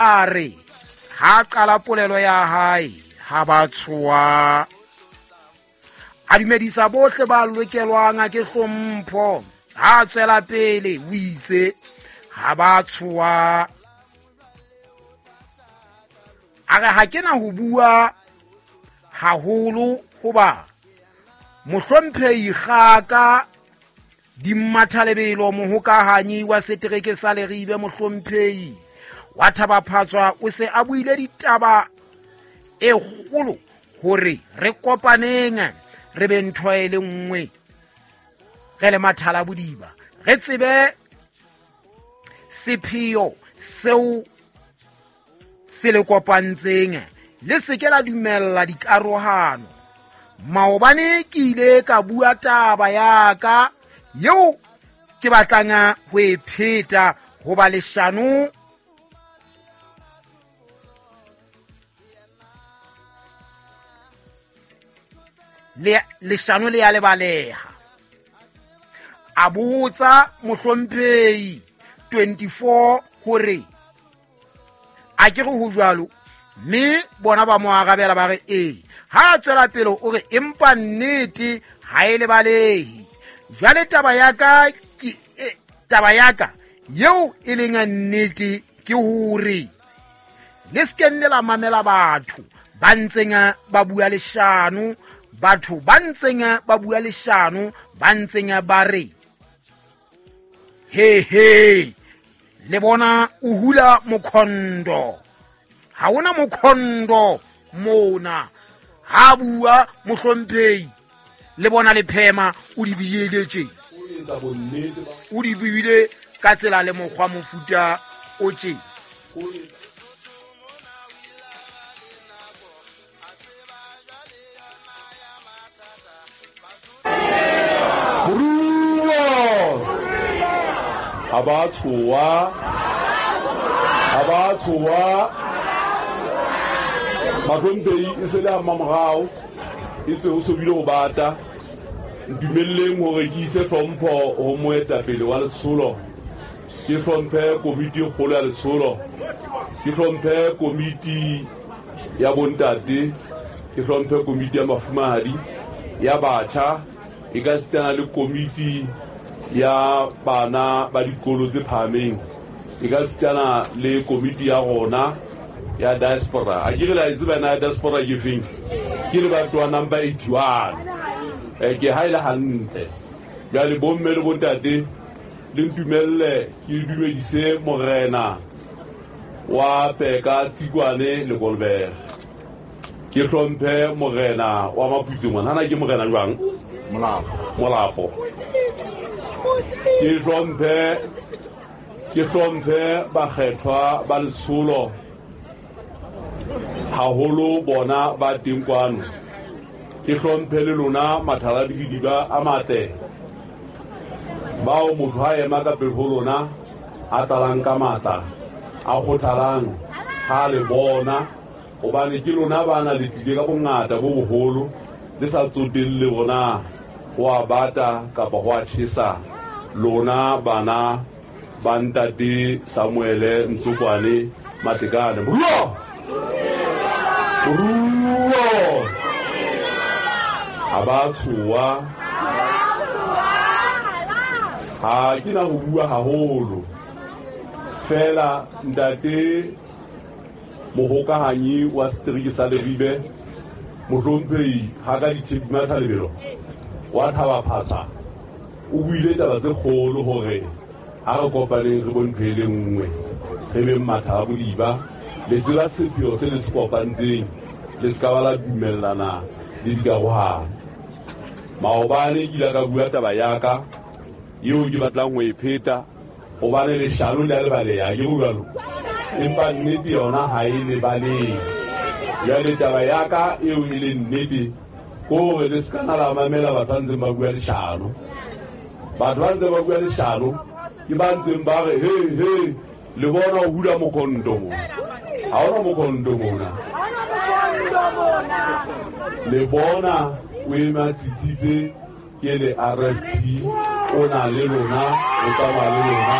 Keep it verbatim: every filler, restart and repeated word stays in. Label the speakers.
Speaker 1: A re ha qala polelo ya hae ha ba tshoa. A dumedisa bohle ba lokelwang ke hlompho. Ha tswela pele o itse ha ba tshoa. A re ha ke na ho bua haholo hoba mohlomphehi Kgaka Dimmathalebelo mohokahanyi wa setereke sa Leribe mohlomphehi wa Thaba-Phatswa o se a buile ditaba e kgolo hore re kopaneng re be ntho e le nngwe re le mathala bodiba re tsebe sepheo seo se le kopantseng le se ke la dumella dikarohano. Maobane ke ile ka bua taba ya ka eo ke batlang ho e pheta hoba leshano le leshano le ya lebaleha. A botsa mohlomphehi twenty-four hore a ke re ho jwalo, mme bona ba mo arabela ba re ee. Ha tswela pele o re empa nnete ha e lebalehe. Jwale taba ya ka ke e, taba ya ka yeo e leng nnete ke hore le se nne la mamela batho ba ntseng ba bua leshano, batho ba ntseng ba bua leshano, ba ntseng ba re he he le bona o hula mokhondo. Ha ona mokhondo mona. Ha bua mohlomphehi le bona le phema o di buile tje, o di buile ka tsela le mokgwa mofuta o tje.
Speaker 2: Ha ba tshoa, ha ba tshoa. Bahlomphehi e se le ha mmamorao e tswe ho sobile ho bata. Ntumelleng hore ke ise hlompho ho moetapele wa letsholo, ke hlomphe komiti e kgolo ya letsholo, ke hlomphe komiti ya bontate, ke hlomphe komiti ya mafumahadi, ya batjha, e ka sitana le komiti ya bana ba dikolo tse phahameng, e ka sitana le komiti ya rona ya diaspora. A ke re la e tseba na ya diaspora ke feng? Ke lebatowa number eighty-one. Eh, ke ha e le hantle. Jwale bomme le bontate le ntumelle ke dumedise morena wa Peka Tsikwane le Kolberg. Ke hlomphe morena wa Maputse ngwana. Hana ke morena jwang?
Speaker 3: Molapo.
Speaker 2: Molapo. Ke hlomphe ke hlomphe bakgethwa ba letsholo haholo bona ba teng kwano. Ke hlomphe le lona mathala didiba a matle bao motho ha ema ka pele ho lona a tlalang ka matla a kgothalang ha le bona, hobane ke lona bana le tlile ka bongata bo boholo le sa tsotelle rona ho a bata kapa ho a tjhesa. Lona bana ba ntate Samuele Ntsokwane Matekane. Moruo! Moruo! Ha ba tshoa. Ha ke na ho bua haholo. Fela ntate mohokahanyi wa setereke sa Leribe mohlomphehi Kgaka Dimmathalebelo wa Thaba-Phatswa o buile taba tse kgolo hore ha re kopaneng re bo ntho e le nngwe, re beng matha a bodiba. Le tseba sepheo se le se kopantseng, le se ka ba la dumellana le dikarohano. Maobane ke ile ka bua taba ya ka eo ke batlang ho e pheta, hobane leshano le a lebaleha, ke jwalo, empa nnete yona ha e lebalehe. Jwale taba ya ka eo e leng nnete ke hore le se ka la mamela batho ba ntseng ba bua leshano. Batho ba ntseng ba bua leshano ke ba ntseng ba re he he le bona o hula mokhondo mona. Ha ona mokhondo mona. Le bona o ema tsitsitse ke le R F P, o na le lona, o tsamaya le lona.